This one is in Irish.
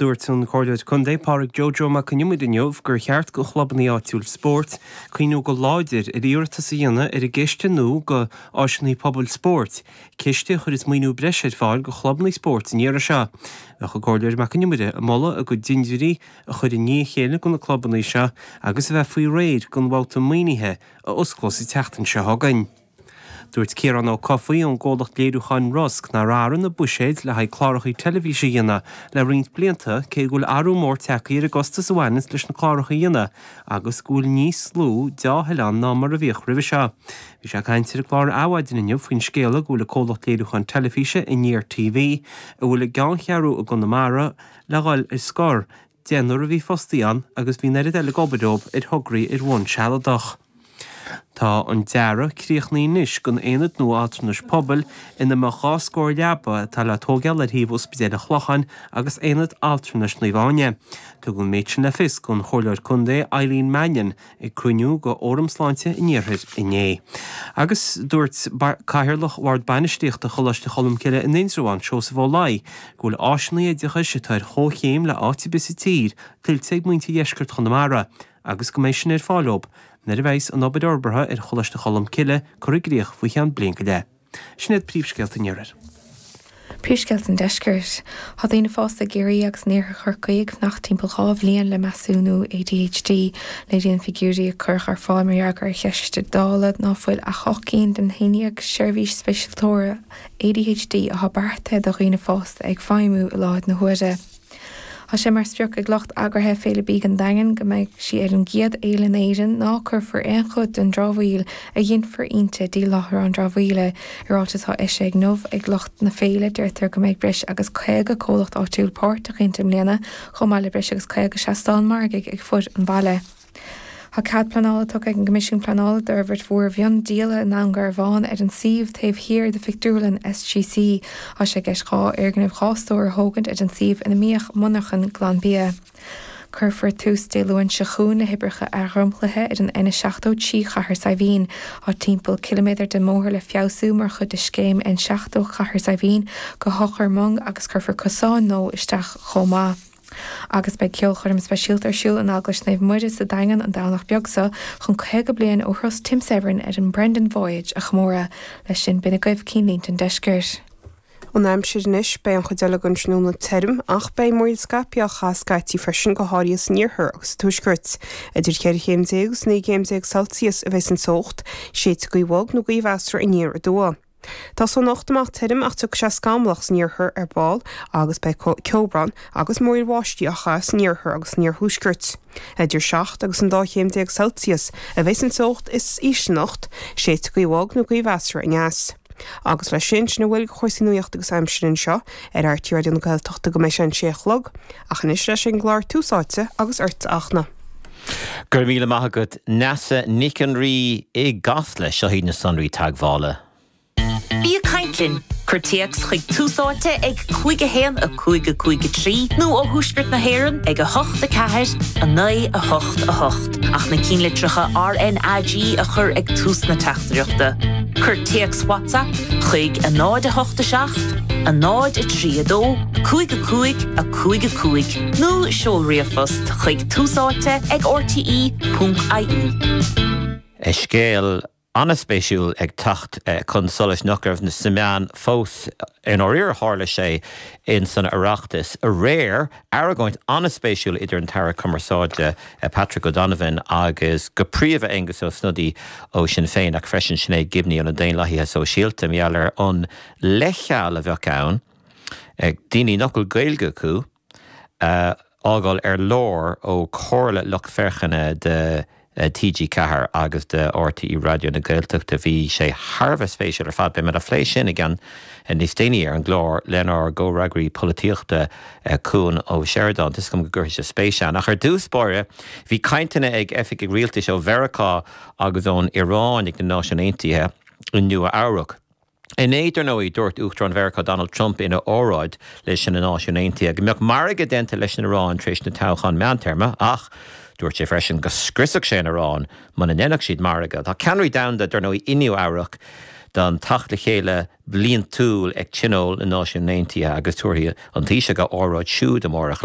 Dúirt an Comhairleoir Contae Pádraig Joe Joe Mac Con Iomaire inniu gur cheart go chlubanna áitiúil spóirt cuimhniú go láidir ar iarratas a dhéanamh ar an gciste nua go áiseanna pobail spóirt, ciste a chuirfeas maoiniú breise ar fáil go chlubanna spóirt an iarraidh seo. Bheadh an Comhairleoir Mac Con Iomaire ag moladh a gcuid dintiúirí a chur i ndiaidh a chéile go na clubanna seo agus a bheith faoi réir don bhabhta maoinithe a osclós an tseachtain seo chugainn. Dúirt Ciarán Ó Cofaigh ón gcomhlacht léiriúcháin Rosg nár athraigh na buiséid le haghaidh cláracha teilifíse a dhéanamh le roinnt blianta cé go bhfuil athrú mór tagtha ar an gcostas a bhaineanns leis na cláracha a dhéanamh agus go bhfuil níos lú dea-thoil ann ná mar a bhíodh roimhe seo. Bhí sé ag caint ar an gclár Adhmhaidin inniu faoin scéala go bhfuil an comhlacht léiriúcháin teilifíse Aniar TV, a bhfuil a gceanncheathrú i gConamara, le dhul ar scor, Deichniúr a bhí fostaithe ann agus bhí an oiread eile ag obair leo ar thograí ar bhonn sealadach. Tá an dearadh críochnaithe anois don aonad nua altranais pobail ina mbeadh 2 scór leaba atá le tógáil ar thaobh Ospidéal an Chlocháin agus Aonad Altranais Naomh Áine. Tugadh an méid sin le fios don Chomhairleoir Contae Eileen Mannion ag cruinniú de Fhóram Sláinte an Iarthair inné. Agus dúirt Cathaoirleach Bhord Bainistíochta Choláiste Cholmcille in Indreabhán, Seosamh Ó Laoi, go bhfuil áiseanna oideachais atá ar chomhchéim le áit ar bith sa tír tuillte ag muintir dheisceart Chonamara agus go mbeidh sin ar fáil dóibh nuair a bheidhs an obair fhorbartha ar Choláiste Cholmcille curtha i gcrích faoi cheann bliain go leith. Sin iad príomhscéalta an Iarthair. Príomhscéalta an Deiscirt. Tá daoine fásta i gCiarraí agus in iarthar Chorcaí ag fanacht timpeall 2 bhliain le measúnú ADHD. Léiríonn figiúirí a cuireadh ar fáil mar fhreagra ar cheist Dála ná fuil ach 8 gcinn den 11 seirbhís speisialtóra ADHD atá beartaithe do dhaoine fásta ag feidhmiú i láthair na huaire. Tá sé mar sprioc ag lucht eagraithe Féile Bídh an Daingin go mbeidh sí ar an gcéad fhéile in Éirinn ná cuirfear aon chuid den dramhaíl a ghinfear inti dtí láithreán dramhaíola. I ráiteas atá eisithe inniu ag lucht na féile deirtear go mbeidh breis agus 50 comhlacht áitiúil páirteach inti i mbliana chomh maith le breis agus 50 seastán margaidh ag fud an bhaile. Tá cead pleanála tugtha ag an gCoimisiún Pleanála d'fhorbairt mhór mhiondíola i nDún Garbhán ar an suíomh taobh thiar de phictiúrlann SGC. Tá sé i gceist 2 fhoirgneamh 2 stór a thógaint ar an suíomh ina mbíodh monarchan Glanbia. Cuirfear tús Dé Luain seo chugainn le hoibreacha athdhromchlaithe ar an N70 trí Chathair Saidhbhín. Tá timpeall ciliméadar den mbóthar le feabhsú mar chuid de scéim N70 Chathair Saidhbhín go hEochair Mhong agus cuirfear cosáin nua isteach chomh maith. Agus beidh ceolchoirm speisialta ar siúl in Eaglais Naomh Muire sa Daingean an Domhnach beag seo chun 50 bliain ó thuras Tim Severin ar an Brendan Voyage a chomóradh. Leis sin, b'in agaibh cinnlínte an deiscirt. An aimsir anois, beidh an chuid eile den tráthnóna tirim ach beidh múraíl scaipthe á chaitheamh scaití freisin, go háirithe san iarthar agus sa tuaisceart. Idir 14 chéim agus 19 gcéim Celsius a bheidh an teocht, séidfidh gaoth bhog nó gaoth mheasartha aniar aduaidh. Tá sé anocht amach tirim ach tiocfaidh sé scamallach san iarthar ar ball agus beidh ceobhrán agus múraíl bháistí á chaitheamh san iarthar agus san iarthuaisceart. Idir 7 agus an 12 chéim Celsius a bheidh an teocht is ísle anocht, séidfidh gaoth bhog nó gaoth mheasartha aneas. Agus leis sin, sin a bhfuil de chúrsaí nuachta agus aimsire anseo ar RTÉ Raidió na Gaeltachta go mbeidh sé an sé a chlog, ach anois ar ais ag an gclár Tús Áite agus ortsa a Fhachtna. Go raibh míle maith agat Neasa Nic an Rí i gCasla. Seo iad na sonraí teagmhála. Bí ag caint linn! Cuir téacs chuig Tús Áite ag 5 1 5 5 3 nó ó Thuaisceart na hÉireann ag 8 4 9 8 8 ach na cinnlitreacha RnaG a chur ag tús na teachtaireachta. Cuir téacs WhatsApp chuig 0 8 7 0 3 2 5 5 5 5 nó seol ríomhphost chuig túsáite ag rte.ie. Scéal an-spéisiúil ag teacht chun solais nach raibh sna meáin fós. I ndáiríre tharla sé in san Oireachtas aréir, argóint an-spéisiúil idir an tAire Cumarsáide Patrick O'Donovan agus go príomha Aengus Ó Snodaigh ó Sinn Féin ach freisin Sinéad Gibney ó na Daonlathaithe Sóisialta mar gheall ar an leithcheal a bheadh ann ag daoine nach bhfuil Gaeilge acu a fhágáil ar lár ó Chomhairle Lucht Féachana de TG4 agus de RTÉ Raidió na Gaeltachta. Bhí sé thar a bheith spéisiúil ar fad. Beidh muid á phlé sin i gceann níos déanaí ar an gclár lenár gcomhfhreagraí polaitíochta Cuan Ó Seireadáin. Tá 'fhios agam go gcuirfidh sé spéis ann. Ach ar dtús báire, bhí cainteanna ag oifigigh rialtais ó Mheiriceá agus ón Iaráin ag na Náisiúin Aontaithe i Nua Eabhrac. Inné, dar ndóigh, dúirt Uachtarán Mheiriceá Donald Trump ina óráid leis na Náisiúin Aontaithe go mbeadh margadh déanta leis an Iaráin tar éis na toghchán meántéarma ach dúirt sé freisin go scriosfadh sé an Iaráin muna ndéanfadh siad margadh. Tá ceannairí domhanda, dar ndóigh, i Nua Eabhrac don teacht le chéile bliantúil ag Tionól na Náisiún Aontaithe agus tabharfaidh an Taoiseach a óráid siúd amárach.